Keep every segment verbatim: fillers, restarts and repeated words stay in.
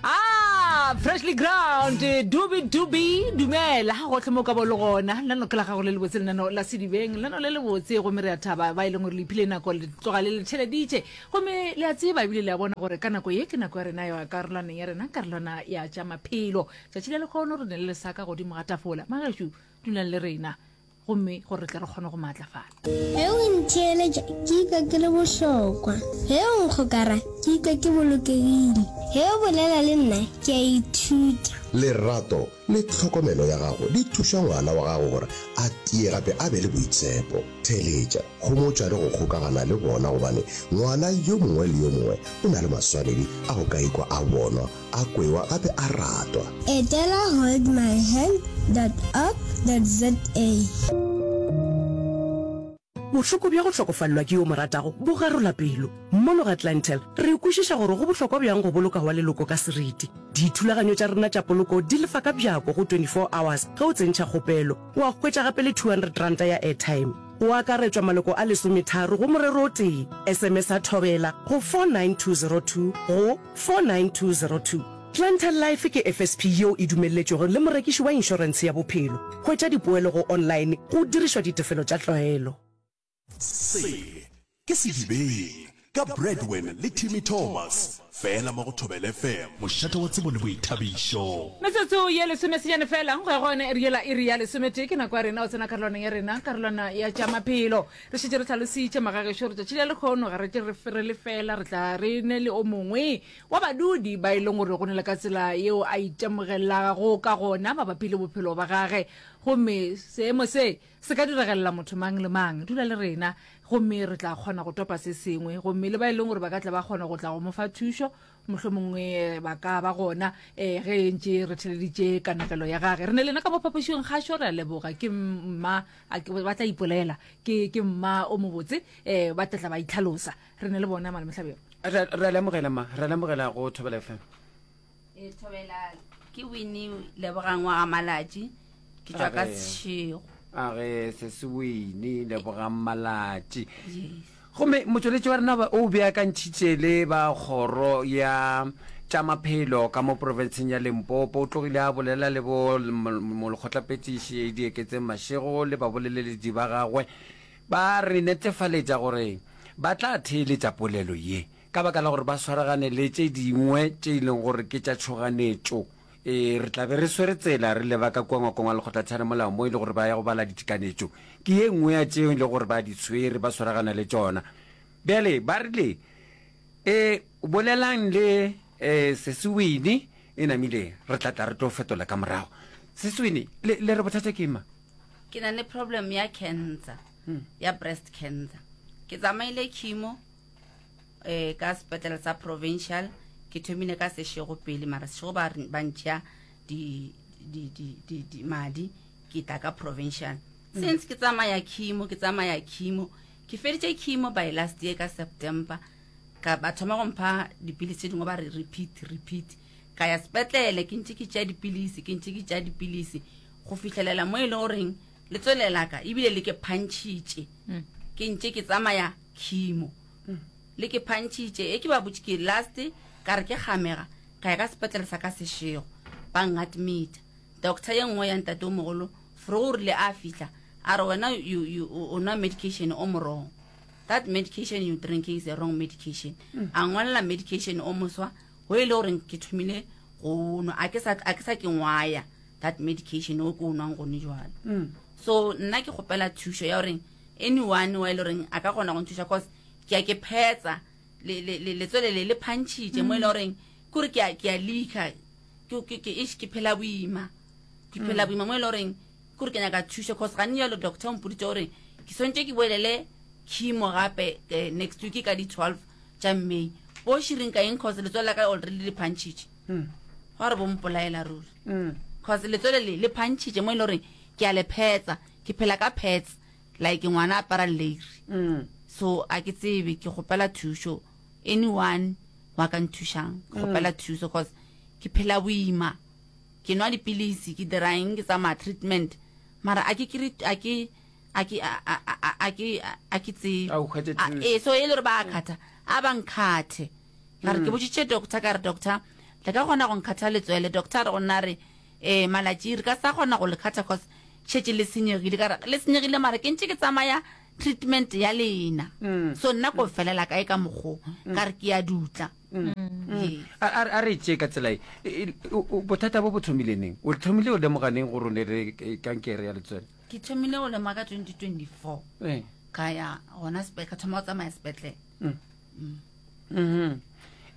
Ah, freshly ground dubi dubi dumela gotlhe mo ka bo le gona lenano ke la gago le lebotse lenano la sedibeng lenano le lebotse gomme re a thaba ba e leng gore le iphile nako le tloga le le theleditše gomme le a tseba ebile le a bona gore ka nako ye ke nako ya rena ya karolwaneng ya rena karolwana ya tša maphelo tšatši la lekgono re ne le lesaka godimo ga tafola magešo dulang le rena gomme gore re tle re kgone go maatlafala Ge o ntheeletša ke ikwa ke le bohlokwa. Ge o nkgokara ke ikwa ke bolokegile. Ge o bolela le nna ke a ithuta. Lerato le tlhokomelo ya gago di thuša ngwana wa gago gore a tie gape a be le boitshepo. Theeletša, homotša le go kgokagana le bona gobane ngwana yo mongwe le yo mongwe o na le maswanedi a go ka ikwa a bonwa, a kwewa gape a ratwa. Etela holdmyhand dot org dot za. Bohloko bja go hlokofalelwa ke yo mo ratago bo garola pelo. Mono ga Clientele, re kwešiša gore go bohlokwa bjang go boloka wa leloko ka seriti. Dithulaganyo tša rena tša poloko di lefa ka bjako go twenty-four hours ge o tsentšha kgopelo, wa hwetša gape le two hundred ranta ya airtime. Go akaretšwa maloko a lesometharo go morero o tee. S M S a Thobela go four nine two zero two go four nine two zero two. Clientele Life ke F S P yeo e dumelletšwego le morekiši wa inšorentshe ya bophelo. Hwetša dipoelo go online go dirišwa ditefelo tša tlwaelo. Se ke Sedibeng ka Bradwin le Timmy Thomas, fela mo go Thobela F M, mošate wa tsebo le boithabišo. Metsotso ye lesomesenyane fela go ya go yona iri yela, iri ya lesometee, ke nako ya rena go tsena karolwaneng ya rena, karolwana ya tša maphelo. Re šetše re hlalositše magagešo gore tšatši la lekgono ga re tle re re le fela, re tla re ne le o mongwe wa badudi ba e leng gore go ne le ka tsela yeo a itemogelago ka gona mabapi le bophelo ba gage, gomme seemo se se ka diregelela motho mang le mang. Dula le rena gomme re tla kgona go topa se sengwe, gomme le ba e leng gore ba ka tla ba kgona go tla go mo fa thušo mohlomongwe ba ka ba gona um ge ntše re theleditše kanegelo ya gage. Re ne lena ka mo phapošing kgašo, re a leboga. Ke mma a ke- ba tla ipolela ke ke mma o mobotse, um ba tla tla ba itlhalosa. Re ne le bona malemohlabelo. Re re a lemogela ma, re a lemogela go Thobela F M. E thobela, ke Winnie Lebogang wa ga Malatši, ke tšwa ka Age. Seshego. A ge se se Winnie Lebogang Malatši. Yes. Gomme motšweletši wa rena ba- o beakantšhitše le ba kgoro ya tša maphelo ka mo profenseng ya Limpopo. O tlogile a bolela le bo molekgotlaphethiši Dieketseng Mashego le baboleledi ba gagwe, ba re netefaletša gore ba tla theeletša polelo ye ka baka la gore ba swaragane le tše dingwe tše e leng gore ke tša tšhoganetšo. E re tla be re swere tsela re leba ka kua ngwakong wa lekgotlatshwaremolao mo e le gore ba ya go bala ditekanetšo. Ke ye nngwe ya tšeo e le gore ba di tshwere ba swaragana le tšona. Bjale ba rile e bolelang le e Sesiwini e namile re tla tla re tlo fetola ka morago. Sesiwini le, le re bothata ke eng ma? Ke na le problem ya cancer, ya breast cancer. Ke tsamaile chemo eh ka sepetlele sa provincial, ke thomile ka Seshego pele, mara Seshego ba re- ba ntšha di di di di di madi, ke tla ka provincial. Since ke tsamaya chemo, ke tsamaya chemo, ke feditše chemo by last year ka September, ka ba thoma go mpha dipilisi tše dingwe, ba re repeat, repeat. Ka ya sepetlele, ke ntše ke tšea dipilisi, ke ntše ke tšea dipilisi go fihlelela mo e le goreng letswele la ka ebile le ke phantšhitše. Ke ntše ke tsamaya chemo, le ke phantšhitše. E ke ba botše ke last ka re ke kgamega, ka ya ka sepetlele sa ka Seshego, ba ngadmita. Doctor ye nngwe ya ntate o mogolo fro o rile a fihla a re, "Wena you, you, o o nwa medication o mo wrong. That medication you drinking is a wrong medication." A ngwalela medication o moswa go e le goreng ke thomile go nwa, a ke sa a ke sa ke ngwaya that medication o ke o nwang gone jwalo. So nna ke kgopela thušo ya goreng anyone wa e le goreng a ka kgona go nthuša, cause ke a ke phetsa le- le- le- letswele le le phantšhitše mo e le goreng kore ke a ke a leaka, ke ke- ke eish, ke phela boima, ke phela boima mo e le goreng kore ke nyaka thušo, cause ga nne jalo doctor o mpoditše gore ke swantse ke boelele chemo gape eh, next week ka di-twelve tša May. Bo širing ka eng? Cause letswele la ka already le phantšhitše, gwa re bo mpolaela ruri, cause letswele le le phantšhitše mo e le goreng ke a le phetsa, ke phela ka pads like ngwana apara leiri. So a ke tsebe, ke kgopela thušo, anyone wa ka nthušang, ke kgopela thuso cause ke phela boima. Ke nwa dipilisi, ke dira eng, ke tsamaya treatment, mara a ke kry a ke a ke a a a a ke a ke tsebe. A o hwetše A- thušo. Ee, so e le gore ba kgatha a ba nkgathe, ka re ke botsitše doctor, ka re, "Doctor, Le ka kgona go nkhatha letswele doctor a re go nna re eh malatši re ka sa kgona go le khatha cause šetše le senyegile ka re le senyegile mara ke ntše ke tsamaya treatment ya lena mm. so nna ko felela kae ka mokgo mm. ka re ke ya dutla mm. a a re tše ka tsela e, e, bothata bo bo thomile neng o thomile o lemoga neng gore o ne le kankere ya letswele ke thomile go lemoga ka twenty twenty four ee. ka ya gona ka thoma go tsamaya sepetlele mm-hmm.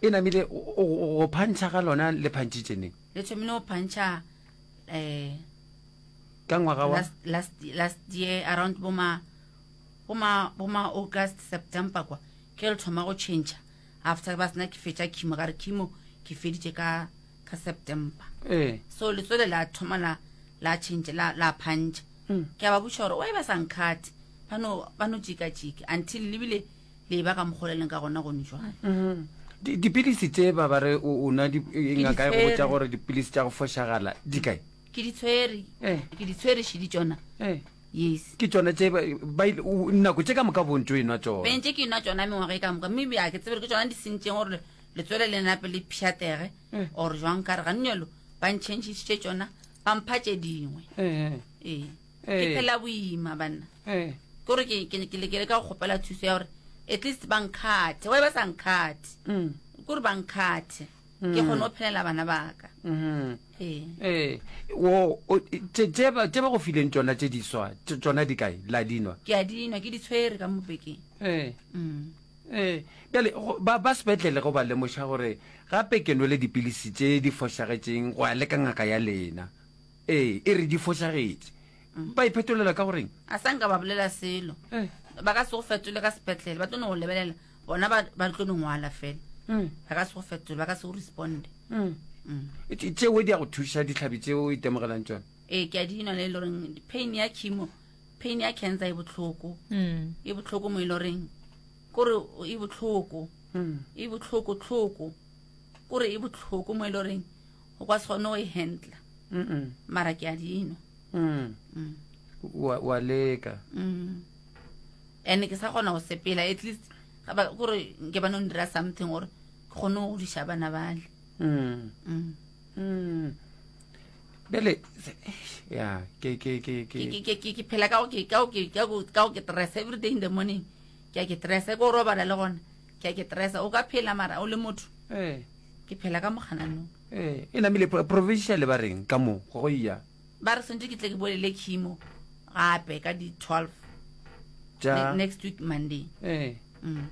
e namile go phantšha ga lona le phantšhitše neng le thomile go phantšha um ka ngwaga wa last, last, last year around boma boma boma august september kwa ke le thoma go change after ba sena ke fetša chemo ka re chemo ke feditše ka ka september ee so letswele la thoma la la change la la phantšha mm. ke a ba botša gore oi ba sa nkgate ba no ba no jikajika until lebile le ba ka mokgoleleng ka gona gone jwale mm-hmm. dipilisi tše ba ba re o nwa ngaka e go botša gore dipilisi tša go fošagala di kae ke di tshwere eh. ke di tshwere šedi tšona eh. yes ke tšona tše nako tše ka moka bontso e nwa tšona bentse ke nwa tšona mengwaga e ka moka mme a ke tsebe ke tšona di sentšeng gore letswele le nape le pšhatege eh. or jwang ka re gannyelo ba ntšhentšhisitše tšona ba mpha tše dingwe ee ke phela boima banna kore ke lekele ka go kgopela thuso ya gore at least ba nkgathe wa ba sa nkgathe mm. kore ba nkgathe ke kgone go phelela bana baka mm-hmm. ee ee wo tše ba go fileng tsona tše diswa tsona di kae la dinwa ke a dinwa ke di tshwere ka mopekeng ee mm. ee bjale ba ba sepetlele go ba lemoša gore gape ke nwele dipilisi tše di fošagetšeng go ya le ka ngaka ya lena ee e re di fošagetše Mm. ba iphetolela ka goreng a sa nka ba bolela selo eh. ba ka se go fetole ka sepetlele ba tlo no go lebelela bona ba tlo no ngwala fela mm. ba ka se go fetole ba ka se go responde mm. mm. tšeo di ya go thuša ditlhabi tseo o itemogelang tsone ee ke a dinwa le e le goreng pain ya chemo pain ya cancer e botlhoko e botlhoko mo e le goreng kore e botlhoko e botlhoko tlhoko kore e botlhoko mo e le goreng o ka se kgone go e handla mara ke a dinwa Mm. Mm. wa wa leka mm. and ke sa kgona go sepela at least kore nke ba no ndira something gore ke kgone go godiša bana bale mm. mm. mm. bjale ya ke ke ke ke ke phela ka go ke ka go ke ka go ka go ke stress every day in the morning ke a ke stress ke o robala le gona ke a ke stress o ka phela mara o le motho eh ke phela ka mogananong eh e namile provincial ba reng ka mo go iya ba re swantse ke tle ke bolele chemo gape ka di twelve ja next week monday eh mm.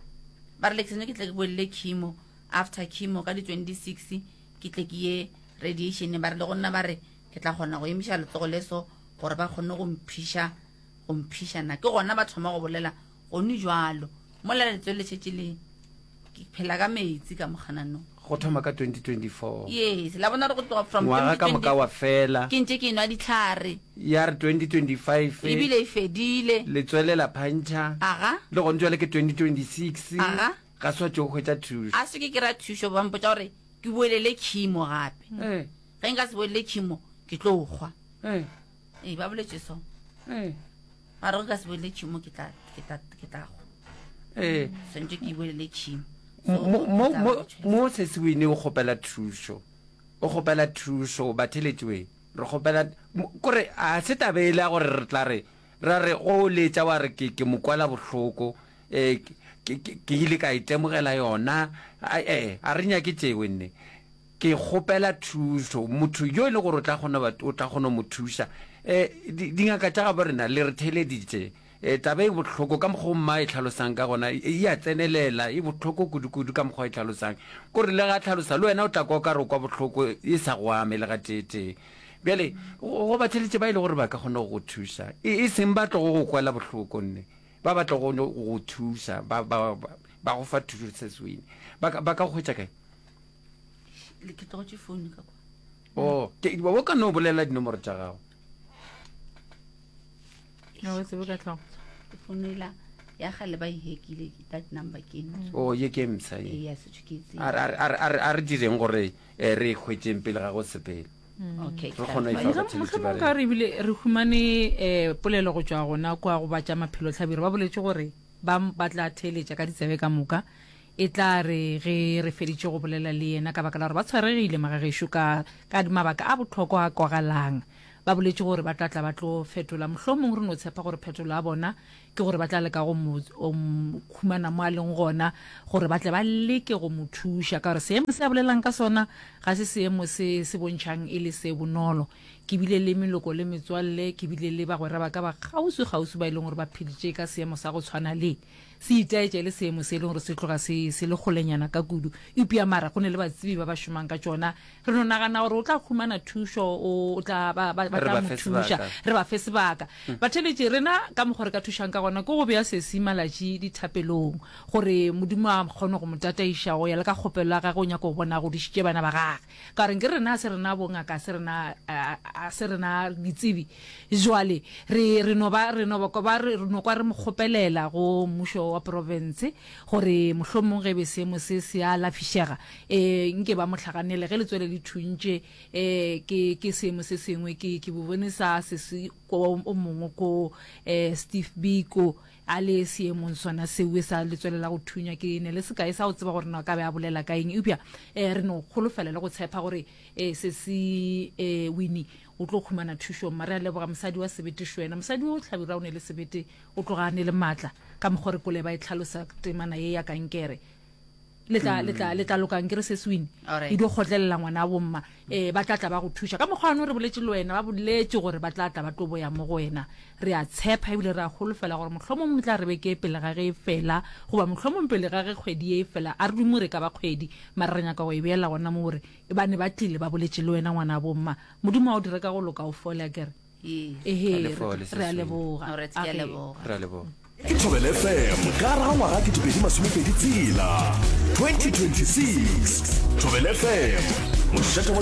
ba re le ke ke tle ke bolele chemo after chemo ka di twenty six ke tle ke ye radiation ba re le go nna ba re ke tla kgona go emiša letsogo le so gore ba kgone go mphiša go mphišana ke gona ba thoma go bolela gone jalo mola letswele le šetše le ke phela ka metsi ka mogananong go thoma ka twenty twenty four yes la bona re go tloga from ngwaga ka moka wa fela ke ntse ke nwa ditlhare ya re twenty twenty five ebile e fedile letswele la phantšha aga le gone jwale ke twenty twenty six aga ga se wa tšo hwetša thušo a se ke kry-a thušo ba mpotša gore ke boelele chemo gape ee ge nka se boelele chemo ke tlo kgwa ee ee ba boletse so ee ba re ge ka se boelele chemo ke tla ke tla ke tla kgwa ee swantse ke boelele chemo mo mo mo mo se se wine o kgopela thušo o kgopela thušo batheletšwe re kgopela kore a se tabe e le ya gore re tla re ra re go letša wa re ke ke mokwala bohloko um ke ile ka itemogela yona ee a re nyake tšewe nne ke kgopela thušo motho yo e le gore o tla kgona o tla kgona mo thuša um dingaka tša gabo rena le re theleditše um taba e bohloko ka mokgwa o mma e tlhalosang ka gona e a tsenelela e bohloko kudu-kudu ka mokgwa e tlhalosang kore le ga tlhalosa le wena o tla kwa o ka re o kwa bohloko e sa go ame le ga tee-tee bjale go batheletše ba e le gore ba ka kgona go go thuša e seng ba tlogo go kwela bohloko nne ba ba tlogo go thuša ba ba ba go fa thušo se sewine ba ka ba ka go hwetša kae ke tlogotše phone ka kwa o ke o ka no bolela dinomoro tša gago no o tsebe ka tlhogo phone ela ya gale ba e hekile that number ke eno o ye ke mpsha ye ee ya setho ke e a re a re a re direng gore eh, re e hwetšeng pele ga go sepele okay re kgone go e fa batheletši ba mohlomong ka re ebile re humane um polelo go tšwa gona kwa go ba tša maphelo tlhabiro ba boletše gore ba ba tla theeletša ka ditsebe ka moka E tla re ge re feditše go bolela le yena, ka baka la gore ba tshwaregile magagešo ka, ka mabaka a bohlokwa a kwagalang. Ba boletše gore ba tla tla ba tlo fetola. Mohlomong re no tshepa gore phetolo ya bona ke gore ba tla leka go mo humana mo a leng gona, gore ba tle ba leke go mo thuša, ka gore seemo se a bolelang ka sona ga se seemo se se bontšhang e le se bonolo. Ke bile le meloko le metswalle, ke bile le bagwera ba ka ba kgauswi-kgauswi ba e leng gore ba pheditše ka seemo sa go tshwana le se itaetša e le seemo se e leng gore se tloga se se le kgolenyana ka kudu. Eupša mara go ne le batsebi ba ba šomang ka tšona. Re no nagana gore o tla humana thušo, o, o tla, ba, ba, ba Re tla ba mo fe thuša. sebaka. Re ba fe sebaka. Batheeletši, rena ka mokgwa re ka thušang ka gona ke go bea sesi malatši dithapelong, gore Modimo a kgone go mo tataiša go ya le ka kgopelo ya gagwe, o nyaka go bona a godišitše bana ba gagwe. Ka gore nke rena a se rena bongaka, a se rena, a, a se rena ditsebi. Jwale, re, re no ba, re no ba, ba, re no kwa re mo kgopelela go mmušo wa profense, gore mohlomong ge be seemo se se a lafišega, e, nke ba mo hlaganele ge letswele le thuntše, e, ke, ke seemo se sengwe, ke, ke bo bone sa se se ko o mongwe ko, e, Steve Biko, a le seemong sona seo sa letswele la go thunya. Ke ne le sekae sa go tseba gore na ka be a bolela ka eng, eupša, e, re no kgolofela le go tshepa gore, e, se se, e, Winnie o tlo khumana thušo. Mma re a leboga mosadi wa sebete šwena, mosadi o hlabirwa o ne le sebete, o tloga a ne le maatla ka mokgwa re kole ba e tlhalosa temana ye ya kankere. Le tla, le tla, le tla loka nkere se se Winnie. Alright. E dio kgotlelela ngwana wa bomma, eh, ba tla tla ba go thuša. Ka mokgwa ono re boletše le wena, ba boletše gore ba tla tla ba tlo boya mo go wena. Re a tshepa ebile re a holofela gore mohlomong tla re beke pele ga ge e fela, goba mohlomong pele ga ge kgwedi e fela, a re dumo re ka ba kgwedi, mara re nyaka go e beela gona mo gore ba ne ba tlile ba boletše le wena ngwana wa bomma. Modimo a o dire ka go loka o fole, akere? Yes. Ehe, A le fole, re a Seswini. leboga. Alright, ke a Age. leboga. Re a leboga. Ke Thobela F M ka gare ga ngwaga ketepedi masomepedi tshela, twenty twenty-six. Thobela F M, mošate wa